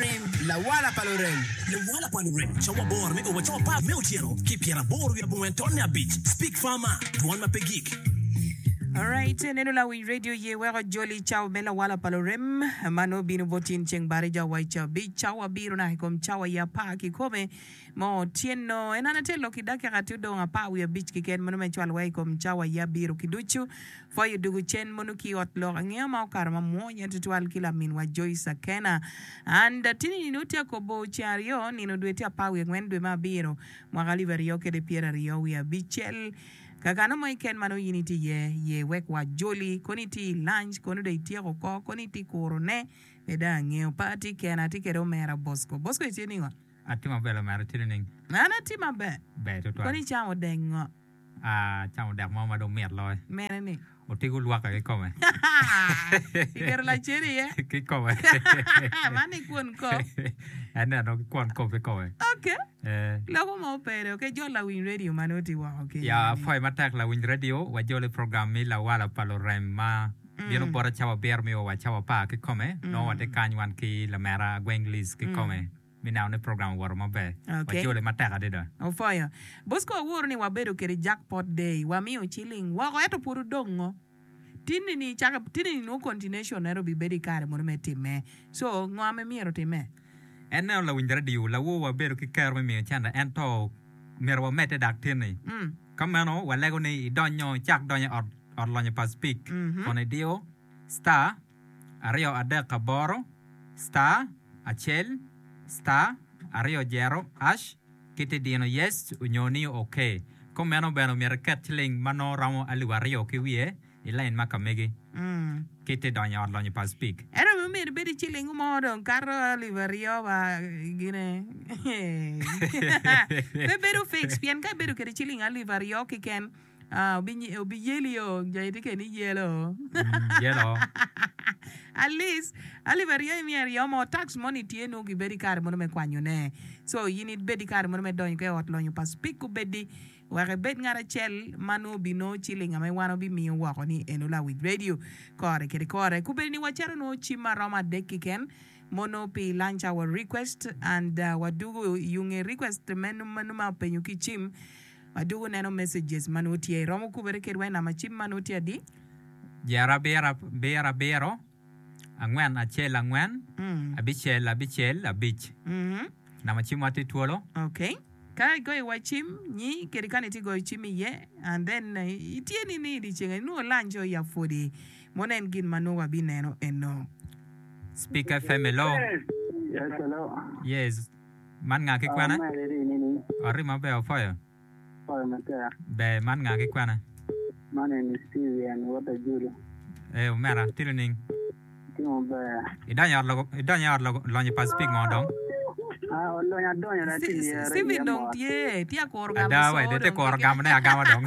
lurem. Lawala pa lurem. Lawala pa lurem, cawa aboro me o wa cawa apar me otyeno ki pyeraboro wiye abongwen tonne abic. Speak Farmer, Dwon ma pe gik. Alright, neno lawiny radio ye weko joli cawa me lawala pa lurem ma nongo bino bot in ceng barija wa i cabic cawa abiro naka i kom cawa i apar kikome mo otyeno. En an atye lok i dakika tye odong apar wiye abic keken mono me cwalo wa i kom cawa i abiro ki ducu. Pwoyo dugu cen mono ki ot lok angeya ma okato ma mwonya tutwal ki laminwa Joyce Akena. And atini nino tye akobo ceng aryo nino dwe tye apar wiye angwen dwe me abiro mwaka alip aryo kede pyeraryo wiye abicel. Kakano mo keken ma nongo in itye iye, ye wek wajoli, kono itye i lunch, kono dong ityeko oko, kono itye kuro ne, pe dong angeyo. Pe atye kena, atye kede omera Bosco. Bosco itye ningo? Atye maber omera, itye nining? An atye maber. Ber tutwal. Kono icamo dek ngo? Acamo dek mo ma dong mit loyo. Mene ni? Otiko lwaka kikome. Iketo lacen iye? Kikome. Man ni kwon kop. En neno ki kwon kop kikome. Ok. Loko mo pere. Ok, jol lawiny radio ma nongo tye woko kenyo. Ya, apwoyo matek lawiny radio. Wajol i program me Lawala pa Lurem ma bino bota cawa abiro me o wa cawa apar kikome. Nongo watye kany wan ki lamera Gweng Liz kikome. Me neno ni program owoto maber. Okay. Wajole matek adada. Opwoyo. Bosco awuru ni wabedo kede jackpot day. Wamiyo ciling woko ento pud odongo. Tinni ni cake tinni ni nongo continuation ento obibedo ikare mono me time. So ngo ma myero otime? En neno lawiny radio lawor wabedo ki kero me miyo cente ento myero wamedde dak tinni. Ka meno walego ni idonyo icak donyo i ot ot lonyo pa Speke kun idiyo star 238 star acel star aryo jero ash ki ti dino yes onyo ni ok. Kumeno bene omyero iket ciling ma nongo romo alip aryo ki wiye i lain ma ka megi ki ti donyo i ot lonyo pa Speke. Ento bene myero ibed ki ciling mo dong kato alip aryo wa gine pe bedo fix pien ka ibedo kede ciling alip aryo keken Ah, obiyeli o, jo itye kede ni yelo. Yelo. At least, alip aryo imiyo aryo mo, tax moni tye nongo gibedo i kare mono me kwanyo ne. So, in ibed i kare mono me donyo ki i ot lonyo pa Speke obedi, wek ibed ngat acel ma nongo obinongo ciling ame wan obimiyo woko ni eno lawic radio kore kede kore. Kubedi ni wacito nongo cim ma romo adek keken mono pi lunch hour request and uh, wadugo yunge request meno meno ma openyo ki cim. Adwogo neno messages ma nongo tye. Iromo kubere kedwa i namba cim ma nongo tye adi? Jero abiro abiro abiro, angwen acel angwen, abicel abicel abic. Namba cimwa tye twolo. Okay. Ka igoyo wa cim nyi kede kani itye goyo cim iye and then itye ni ni dyeceng eni nongo lunch o ya pwodi mono en gin ma nongo wabineno eno. Speak FM hello. Yes, hello. Yes. Man nga ki kwene? Omege ri nini. Ori maber opwoyo. Opwoyo matek. Ber man nga ki kwene? Man eni Steven wod Ajulu. Ee omera, tye nining? Tye maber. Idonyo i ot logo, idonyo i ot logo, lonyo pa Speke ngo dong? Ah, olonyo adonyo dong atye i Steven iye dong mot. tye, tye akuro gamo Ada coo wai, dong tye dong kuro keken. gamo ne agama dong.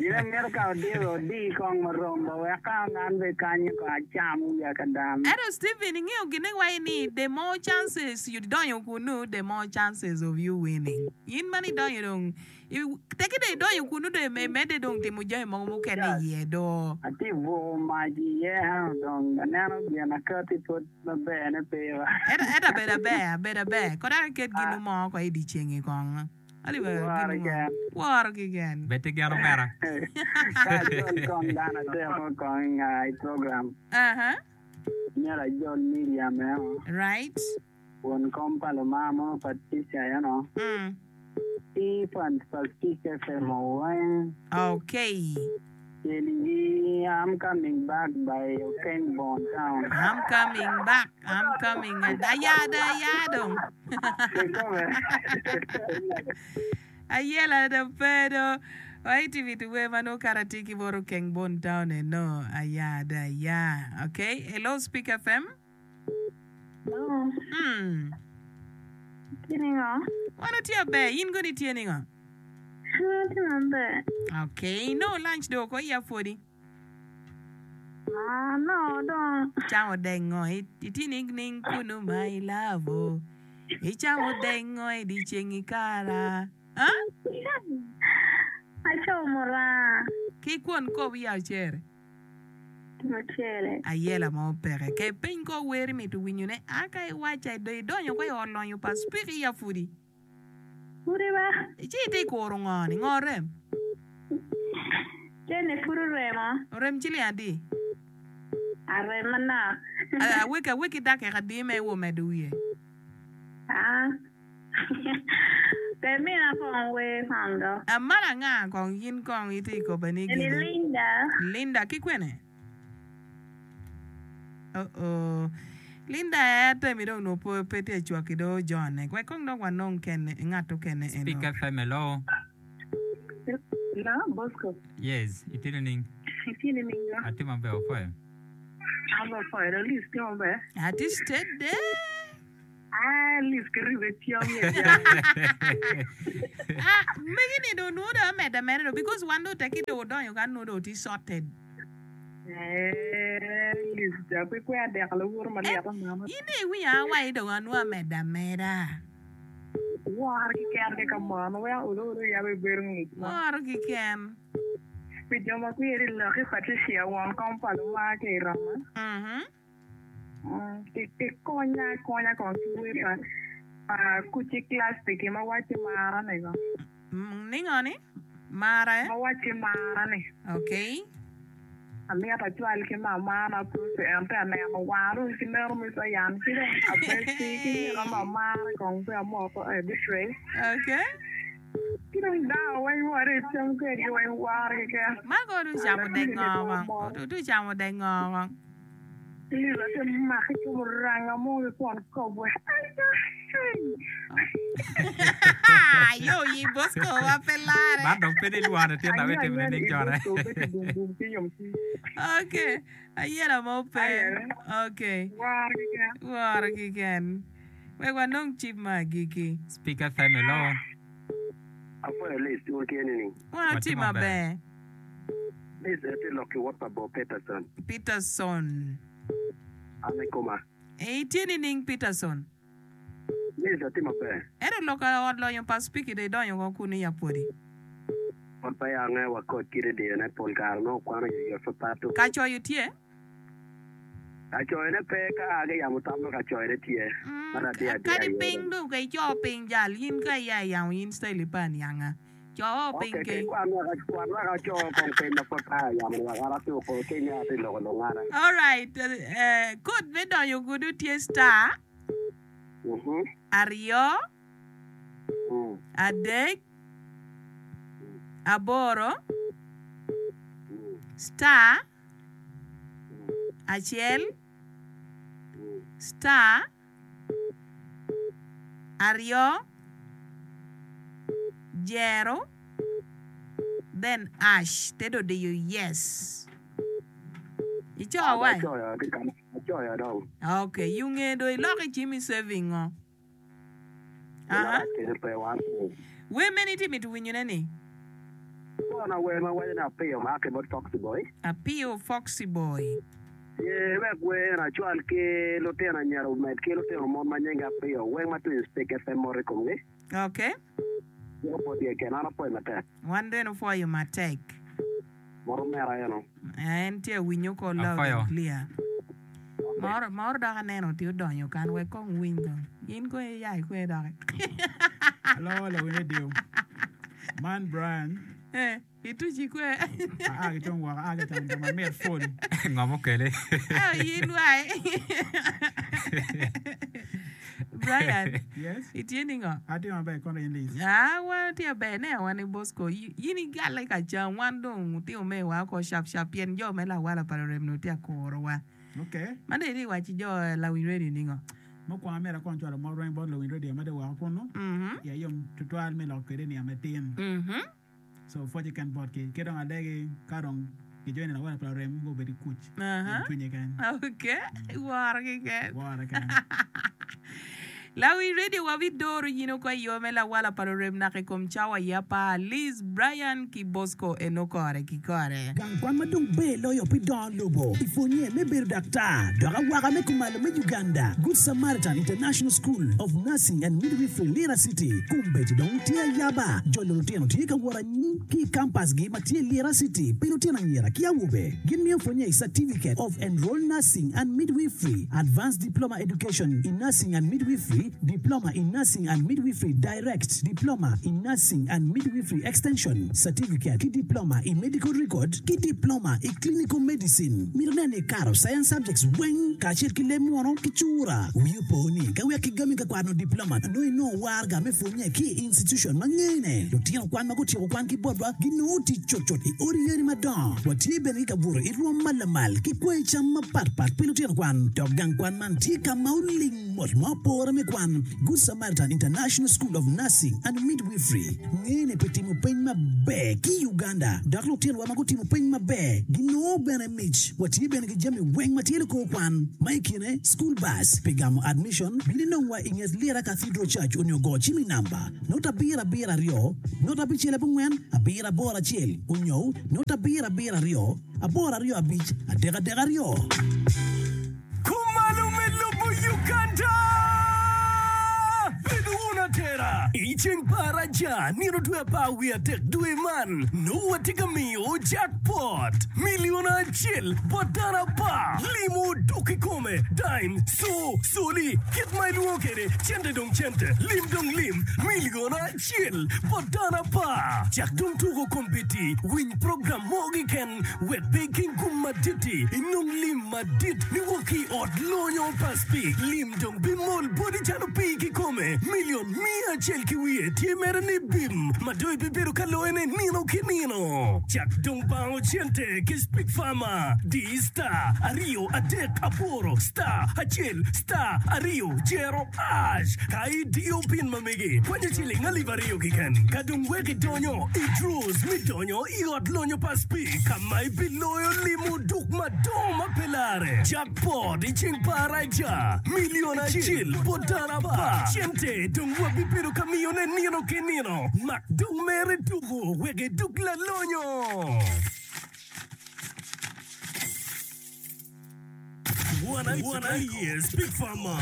Gin amito ka odiyo odi kong marom ba wek ka an be kanyo kong acam wiya ka dam. Ento Steven ingeyo gine wai ni the more chances you donyo kunu the more chances of you winning. In ma ni donyo dong Teki dong idonyo kunnu dong imedde dong timo jami mogo mukene iye do. Atye buko mac iye ento dong aneno gin akati pwod maber ne pe wa. Ento ento abedo aber abedo aber kong dok iket ginu mo ko i dye cengi kong. Woro keken. Woro keken. Bed ki gen omera. Ka ajol kong dano adek kong i program. Aha. Myero ajol Miriam eno. Right. Won kom pa Lumar mo Patricia eno ki fans pa Speak FM weng. Okay. Celigi I'm coming back by Okeng Bone Town. I'm coming back, I'm coming aya do aya dong. Kikome. Ayela do pe do. Waiti miti wer ma nongo kara tye ki bot Okeng Bone Town eno aya do aya. Okay, hello Speak FM. Hello. Mm. Itye ningo? Wan watye aber, in kono itye ningo? An atye maber. Okay, nongo lunch dong oko iya pwodi? Ah, no dong. Icamo dek ngo? Itye ningning kunu my love oh. Icamo dek ngo i dyeceng i kara? Ah? Acamo muranga. Ki kwon kop iya ocere? Tye mucele. Ayela mo peke. Ke peny kor wer imito winyone a ka iwaca dong idonyo ko i ot lonyo pa Spiki ya pudi. Pudi ba. Ci itye kuro ngo ni? Ngo rem? Cene pud oremo. Orem ciling adi? Arem manok. Aweki aweki dakika adi ma iwo medo wiye? Aa. Pe mina kong wer kong do. Man anga kong in kong itye i koba ni Eni gini? Linda. Linda ki kwene? Oh oh. Linda aye atemi dong nongo po pe tye cwaki do John-ne. Wek kong dok wanong kene ngat okene eno. Speak FM hello. Hello, Bosco. Yes, itye nining? Itye nining do? Atye maber, opwoyo. An bene apwoyo do. Liz tye maber? Atye steady. Ah, Liz kiribe cam ye ja. Ah, megi ni do nwo do ameda mere do because wan do teki do odonyo kan nwo do tye sorted. Eh, Liz ja pe kwe adek laworo ma Eh, lyet amama. in dong iwinyo a wa i dong anwo ameda ameda. Woro kiken ki ka mono weko olo olo yabo ibedo ngic mo. Woro kiken. Pi jo ma kwiri loki Patricia won kom pa lumar ki i Roma. Mhm. Kikonya akonya kong ki wer pa Kuci Classic ma wacci mara ni go. Ningo ni? Mara eh? Ma wacci mara ni. Okay. Amito acwal ki mamana Prossy en pe aneno wanga dong ki neno me cayan ci dong abeci ki nyika mamara kong pe amoko e betray. Okay. Ki dong dano weng ma watye ka cam kwedgi weng woro keken. Man kono otuco camo dek ngo kong? Otuco camo dek ngo kong? Liza te maki ki muranga mo ki kwon kobwe. Aya, hey! Yo yi Bosco wa pe lare. Man dong pe ni lwano tye dok Anyo itimo anyo nining ni cone? Bosco bedo bum bum ki yomcwiny. Okay, ayela mo pe. Aye. Okay. Woro keken. Woro keken. Wek wanong cip ma agikki. Speak FM, hello. Apwoyo Liz, wun tye nining? Wan Watye watye maber. maber. Liz atye lok ki wot pa Bo Peterson. Peterson. An i koma. Ee, itye nining Peterson? Liz atye maber. Ento lok ka ot lonyo pa Spiki dong idonyo woko kunu i apwodi. Ot pa yange wa koc kite dyene pol kare nongo kwano oyoyot pe pato. Ka coyo tye? Ka coyone pe ka a ki yamo tam nongo ka coyone tye. Man adiya adiya Kadi aye. piny dong ka ico piny jal in ka iya i yamo in style pe anianga. Co piny Ok, ki. kwan wek kwan wek aco kong piny ma pud pe ayamo ni wek an atuk ki nge atye loko lungana. Alright, eh, kod me donyo gudu tye star Mhm. aryo, Mm. adek, aboro, Mm. star acel, Mm. star aryo, jero, then ash te dong odiyo yes. Ico wa? Acoyo ki kama acoyo dong. Ok, yunge dong iloko i cim i saving ngo? Aha. Kede pe wan. Wer mene itye mito winyone ni? Kona wer ma waco ni apiyo ma a ki bot Foxy Boy. Apiyo Foxy Boy. Ye wek wer eno acwal ki lutino anyira omed ki lutino mon ma nyingi apiyo weng ma twinyo Speak FM mot i komgi. Ok. Ciko bot ye kene an apwoyo matek. Wan bene opwoyo matek. Mot omera eno. En tye awinyo ko loud Apwoyo. and clear. Moro moro dok aneno tye odonyo kan wek kong winy kong. In kong iya ikwe doki. Hello, lawiny radio. Man Brian. Eh, ituci kwe. Aa ki tung woko, aa ki camo jo mamit pul. Ngo mukele? Eh, in wai. Brian, Yes. itye ningo? Atye maber kono in Liz. Ah, wan watye maber. Ne wan i Bosco. In igalle ka cam, wan dong wutimo mewa oko cap cap pien jo me lawala pa lurem-ni wutye ka kurowa. Okay. Man dong itye ka waco jo lawiny radio ningo? Mukwongo amyero akong cwalo mot weng bot luwiny radio ma dong woko kunu. Mhm. Iya yom tutwal me lok kwede niang matin. Mhm. So pwoc keken botgi. Ki dong alegi ka dong gijoine lawala pa lurem gubed ki kuc Aha. yomcwiny keken. Okay. Woro keken. Woro keken. Lawiny radio wa bidoro in oko i yo me lawala pa lurem naka i kom cawa i apar. Liz, Brian ki Bosco eno kore ki kore. Gang kwan ma dong ber loyo pi dongo lobo i pwonye me bedo daktar dok awaka me kumalo me Uganda, Good Samaritan International School of Nursing and Midwifery Lira City kombeddi dong tye ayaba. Jolo lutino tye ka wot anyim ki i kampasgi ma tye i Lira City pi lutino anyira ki awobe. Gin miyo pwonye i Certificate of Enrolled Nursing and Midwifery, Advanced Diploma Education in Nursing and Midwifery, Diploma in Nursing and Midwifery Direct, Diploma in Nursing and Midwifery Extension, Certificate ki Diploma i Medical Record ki Diploma i Clinical Medicine. Mito nen ni ikato Science Subjects weng kacel ki leb munu ki cura. Wi opo ni ka wek kigami ka kwano diploma nongo inongo waraga me pwonye ki i institution ma ngene. Lutino kwan ma gutyeko kwan ki botwa ginongo tic cutcut i odi yadi madongo. Watye bene ki kabuto i rwom ma lamal ki kwayi cam mapat pat pi lutino kwan. Dok gang kwan man tye ka ma oling mot ma opore me kwan. Good Samaritan International School of Nursing and Midwifery ngene pi timo peny maber ki i Uganda dok lutinowa ma gutimo peny maber ginongo bene mic. Watye bene ki jami weng ma tye likor kwan ma i kine school bus pi gamo admission. Bin inongwa i nget Lira Cathedral Church onyo go cim i namba not 772 0 94 881 onyo not 772 825 332. Kumalo me lobo Uganda! Bedo wun atera i ceng pa Araja nino dwe 13 dwe man nongo watye ka miyo jackpot milion acel bot dano apar. Limo dok kikome, dime, co, coli, kit ma ilwongo kwede, cente dong cente, lim dong lim, milion acel bot dano apar. Cak dong tuko kombeddi, winy program mo keken wek pe iking gum madit-ti, inong lim madit niwok ki i ot lonyo pa Speke. Lim dong bimol boti calo pii kikome. Milion 100 ki wiye tye mere ni bim ma dong ibibedo ka loyone nino ki nino. Cak dong bango cente ki Speke Farmer. Di star aryo adek aboro star acel star aryo jero ash ka idiyo pin ma megi kwanyo ciling 2000 keken ka dong wek idonyo i draws me donyo i ot lonyo pa Speke ka ma ibiloyo limo duk madongo ma pe lare. Jackpot i ceng pa Araja milion acel bot dano apar. Cente dong wabibedo ka miyone nino ki nino. Mak dong mere tuko wek iduk lalonyo. Wan aye Speak Farmer.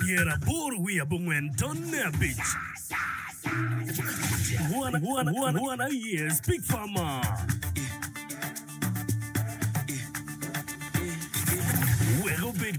89.5. Wan aye Speak Farmer. Wek obed ki.